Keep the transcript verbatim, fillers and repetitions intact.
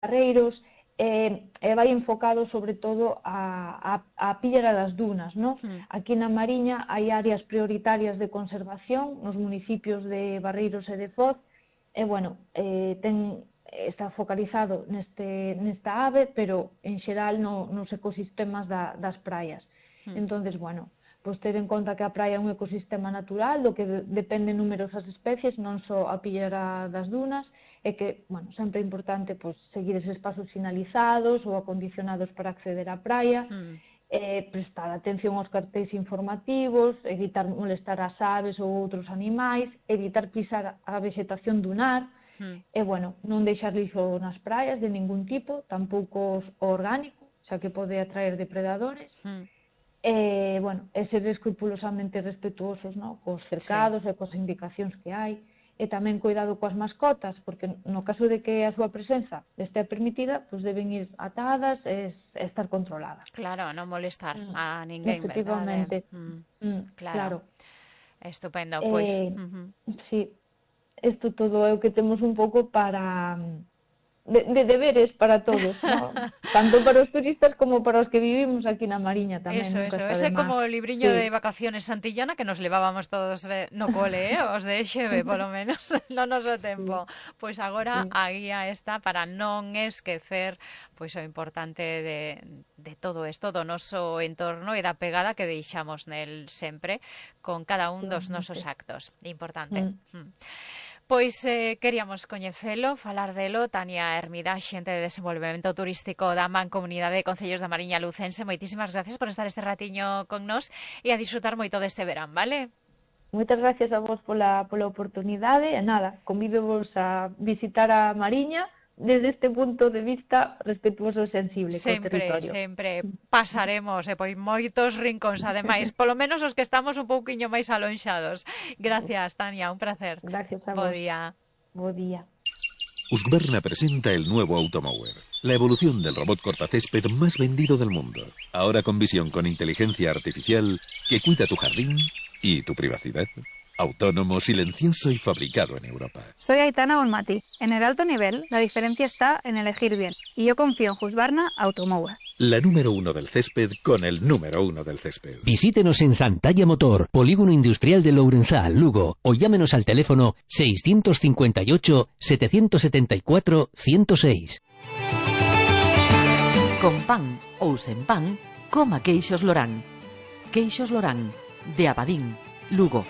barreiros, e, e vai enfocado sobre todo a, a, a pillera das dunas, ¿no? Mm. Aquí na Mariña hai áreas prioritarias de conservación nos municipios de Barreiros e de Foz, e, bueno, eh, ten, está focalizado neste, nesta ave, pero en xeral no, nos ecosistemas da, das praias. Mm. Entonces, bueno, pois ter en conta que a praia é un ecosistema natural do que de, dependen numerosas especies, non só a pillera das dunas, e que, bueno, sempre é importante pois, seguir eses pasos sinalizados ou acondicionados para acceder á praia, mm. eh, prestar atención aos cartéis informativos, evitar molestar as aves ou outros animais, evitar pisar a vegetación dunar, mm. e, bueno, non deixar lixo nas praias de ningún tipo, tampouco orgánico, xa que pode atraer depredadores, mm. e, bueno, e ser escrupulosamente respetuosos, no? Cos cercados, sí, e cos indicacións que hai, e tamén cuidado coas mascotas, porque no caso de que a súa presenza estea permitida, pois deben ir atadas e estar controladas. Claro, non molestar mm. a ninguén, efectivamente. verdade? Mm. Mm, claro. claro. Estupendo, pois. Eh, uh -huh. Sí, isto todo é o que temos un pouco para... De, de deberes para todos, ¿no? Tanto para os turistas como para os que vivimos aquí na Mariña tamén. Eso, eso, ese é como o libriño sí. de vacaciones santillana que nos levábamos todos no cole, eh? Os de Xeve, polo menos, no noso tempo. Sí. Pois agora sí. a guía está para non esquecer pois o importante de, de todo isto, do noso entorno e da pegada que deixamos nel sempre con cada un dos nosos actos. Importante. Mm. Mm. Pois eh, queríamos coñecelo, falar delo. Tania Hermida, xente de desenvolvemento turístico da Mancomunidade de Concellos da Mariña Lucense. Moitísimas gracias por estar este ratiño con nós e a disfrutar moito deste verán, vale? Moitas gracias a vos pola, pola oportunidade e nada, convídovos a visitar a Mariña desde este punto de vista respetuoso e sensible sempre, co territorio. Sempre, pasaremos e por moitos rincóns, ademais, polo menos os que estamos un pouquiño máis alonxados. Gracias, Tania, un placer. Gracias a vos. Bo día. Bo día. Husqvarna presenta el nuevo Automower, la evolución del robot cortacésped más vendido del mundo. Ahora con visión con inteligencia artificial que cuida tu jardín y tu privacidad. Autónomo, silencioso y fabricado en Europa. Soy Aitana Bonmati. En el alto nivel, la diferencia está en elegir bien. Y yo confío en Husqvarna Automower. La número uno del césped con el número uno del césped. Visítenos en Santalla Motor, Polígono Industrial de Lourenzá, Lugo, o llámenos al teléfono seiscientos cincuenta y ocho, setecientos setenta y cuatro, ciento seis. Con pan ou sen pan, coma queixos Lorán. Queixos Lorán, de Abadín, Lugo.